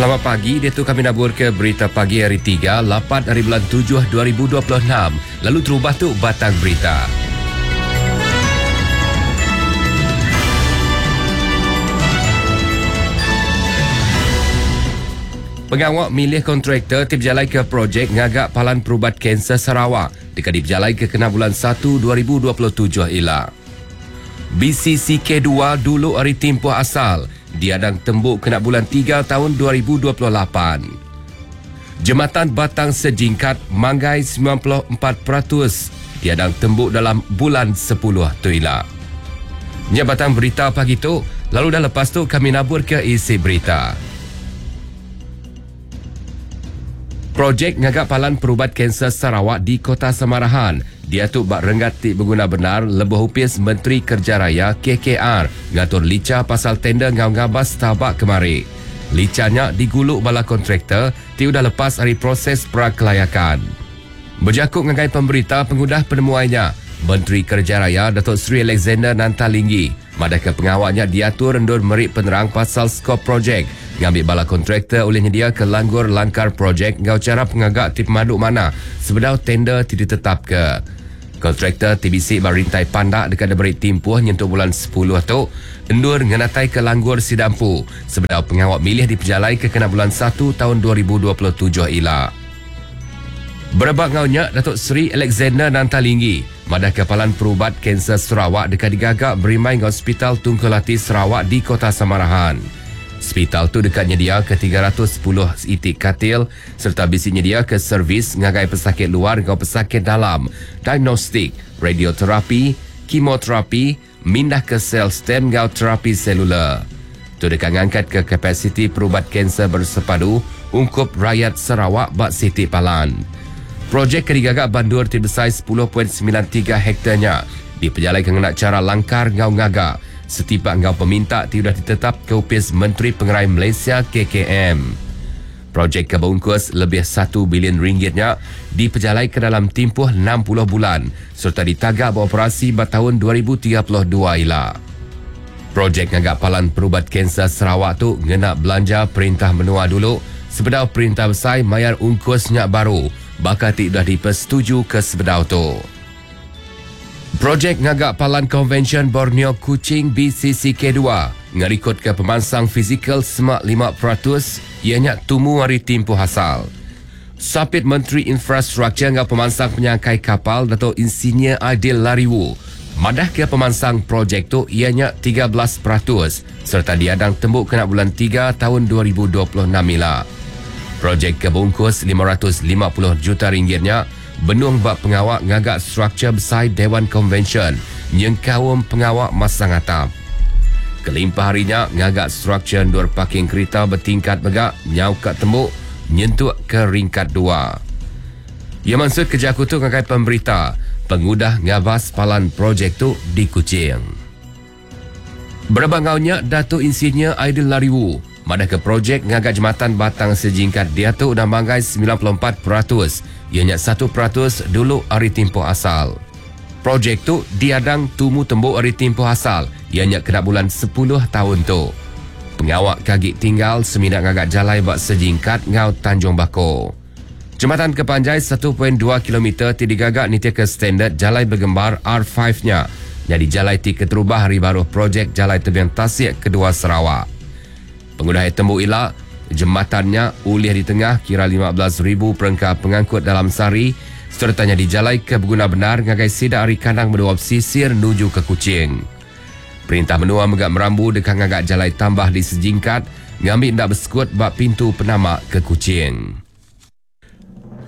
Selamat pagi. Diatu kami nabur ke berita pagi hari 3, 8 hari bulan 7 2026. Lalu terubah tu batang berita. Pengawa milih kontraktor ti bejalai ke projek ngaga Palan Perubat Kanser Sarawak deka dipejalai ke kena bulan 1 2027 ila. BCCK 2 dulu ari timpuh asal diadang tembu kena bulan 3 taun 2028. Jematan Batang Sejingkat manggai 94% diadang tembu dalam bulan 10 tu ila. Nya batang berita pagi tu, lalu dah lepas tu kami nabur ke isi berita. Projek ngaga Palan Perubat Kanser Sarawak di Kota Samarahan diatu ba renggat ti beguna bendar lebuh Opis Menteri Kerja Raya, KKR, ngatur licha pasal tender enggau ngabas taba kemari. Licha nya digulu bala kontraktor ti udah lepas ari proses prakelayakan. Bejaku ngagai pemberita pengudah penemuai nya, Menteri Kereja Raya Datuk Seri Alexander Nanta Linggi madahka pengawa nya diatur endur meri penerang pasal skop projek ngambi bala kontraktor ulih nyediaka langgur langkar projek enggau chara pengaga ti pemadu manah sebedau tender ti ditetapka. Kontraktor ti bisi ba rintai pandak deka diberi timpuh nyentuk bulan sepuluh tu endur ngenataika langgur sida empu sebedau pengawa milih dipejalaika kena bulan satu taun 2027 ila. Berebak enggau nya, Datuk Seri Alexander Nanta Linggi madahka Palan Perubat Kanser Sarawak deka digaga berimbai enggau Sepital Tungkul Ati Sarawak di Kota Samarahan. Sepital tu deka nyediaka 310 iti katil sereta bisi nyediaka servis ngagai pesakit luar enggau pesakit dalam, diagnostik, radioterapi, kemoterapi, mindahka sel stem enggau terapi selular. Tu deka ngangkatka kapasiti perubat kanser bersepadu ungkup rayat Sarawak ba siti palan. Projek ke digaga ba endur ti besai 10.93 hektar nya dipejalaika ngena chara langkar enggau ngaga setipak enggau peminta ti udah ditetapka Opis Menteri Pengerai Malaysia, KKM. Projek ke beungkus lebih satu bilion ringgit nya dipejalaika dalam timpuh 60 bulan sereta ditaga beoperasi ba taun 2032 ila. Projek ngaga Palan Perubat Kanser Sarawak tu ngena belanja perintah menua dulu sebedau perintah besai mayar ungkus nya baru baka ti udah dipesetujuka sebedau tu. Projek ngaga Palan Konvensyen Borneo Kuching BCCK 2 ngerikodka pemansang fizikal semak 5% iya nya tumu ari timpuh asal. Sapit Menteri Infrastruktur enggau Pemansang Penyangkai Kapal Dato Insinyur Aidil Lariwoo madahka pemansang projek tu iya nya 13% sereta diadang tembu kena bulan 3 taun 2026 ila. Projek ke beungkus 550 juta ringgit nya benung ba pengawa ngaga struktur besai Dewan Konvensyen nyengkaum pengawa masang atap. Kelimpah ari nya, ngaga struktur endur parking kerita betingkat mega nyau ka tembu nyentuk ke ringkat dua. Iya mansutka jaku tu ngagai pemberita pengudah ngabas palan projek tu di Kuching. Berebak enggau nya, Datuk Insinyur Aidil Lariwoo madahka projek ngaga jematan Batang Sejingkat diatu udah manggai 94% iya nya 1% dulu ari timpuh asal. Projek tu diadang tumu tembu ari timpuh asal iya nya kena bulan 10 taun tu. Pengawa ke agi tinggal semina ngaga jalai ba Sejingkat enggau Tanjung Bako. Jematan ke panjai 1.2 kilometer ti digaga nitihka standard jalai begembar R5 nya nyadi jalai ti keterubah ari baruh projek Jalai Tebing Tasik Kedua Sarawak. Pengudah iya tembu ila, jematan nya ulih ditengah kira 15,000 perengka pengangkut dalam sehari sereta nyadi jalai ke beguna bendar ngagai sida ari kandang menua pesisir nuju ke Kuching. Perintah menua mega merambu deka ngaga jalai tambah di Sejingkat ngambi enda besekut ba pintu penama ke Kuching.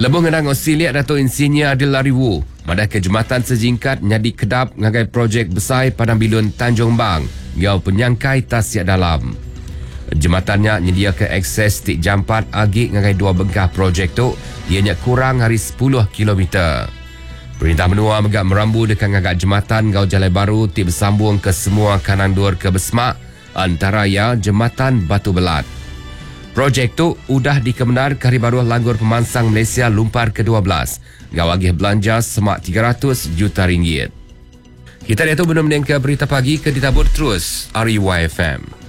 Lebuh ngenang enggau silik Dato Insinyur Adil Lariwoo madahka jematan Sejingkat nyadi kedap ngagai projek besai Padang Bilun Tanjung Bang enggau penyangkai tasik dalam. Jematan nya nyediaka akses ti jampat agi ngagai dua bengkah projek tu iya nya kurang ari 10 kilometer. Perintah menua mega merambu deka ngaga jematan enggau jalai baru ti besambung ke semua kandang endur ke besemak entara iya Jematan Batu Belat. Projek tu udah dikemendarka hari baruh Langgur Pemansang Malaysia Lumpar ke-12 enggau agih belanja semak 300 juta ringgit. Kita diatu benung mendingka berita pagi ke ditabur terus ari YFM.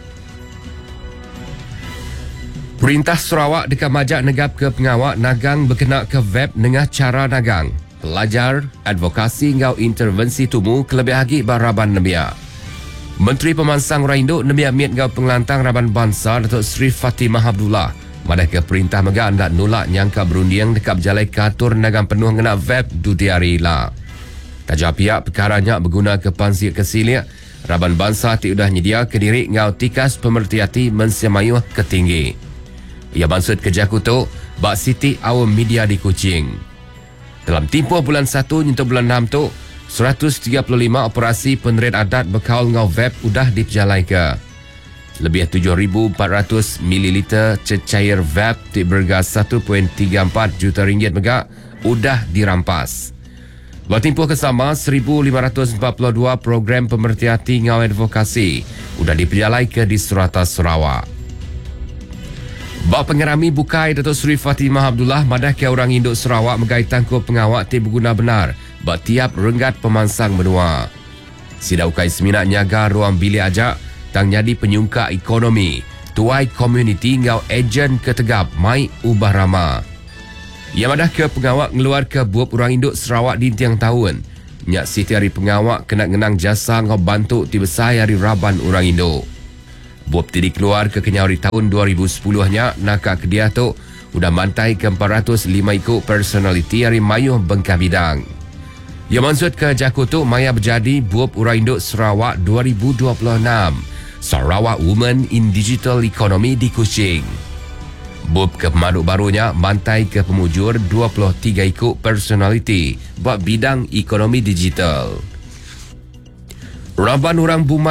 Perintah Sarawak deka majak negapka pengawa nagang bekenaka vape nengah chara nagang, pelajar, advokasi enggau intervensi tumu kelebih agi ba raban nembiak. Menteri Pemansang Orang Indu, Nembiak Mit enggau Pengelantang Raban Bansa Datuk Seri Fatimah Abdullah madahka perintah mega enda nulak nyangka berunding deka bejalaika atur nagang penuh ngena vape dudi hari ila. Taja pia, pekara nya begunaka pansik ke silik Raban bansa ti udah nyediaka diri enggau tikas pemereti ati mensia mayuh ke tinggi. Iya mansutka jaku tu ba siti aum media di Kuching. Dalam timpuh bulan satu nyentuk bulan enam tu, 135 operasi penerit adat bekaul enggau vape udah dipejalaika. Lebih 7400 mililiter cecair vape ti berega 1.34 juta ringgit mega udah dirampas. Ba timpuh ke sama, 1542 program pemereti ati enggau advokasi udah dipejalaika di serata Sarawak. Ba pengerami bukai, Datuk Seri Fatimah Abdullah madahka orang indu Sarawak megai tangkup pengawa ti beguna bendar ba tiap renggat pemansang menua. Sida ukai semina nyaga ruang bilik aja tang nyadi penyungkak ekonomi, tuai komuniti enggau ejen ke tegap mai ubah rama. Iya madahka pengawa ngeluarka bup Orang Indu Sarawak Ninting Taun nya siti ari pengawa kena ngenang jasa enggau bantu ti besai ari raban orang indu. Bup ti dikeluarka kenyau ari taun 2010 nya naka ke diatu udah mantaika 405 iku personaliti ari mayuh bengkah bidang. Iya mansutka jaku tu maya bejadi Bup Orang Indu Sarawak 2026, Sarawak Women in Digital Economy di Kuching. Bup ke pemadu baru nya mantaika pemujur 23 iku personaliti ba bidang ekonomi digital. Raban orang bumai.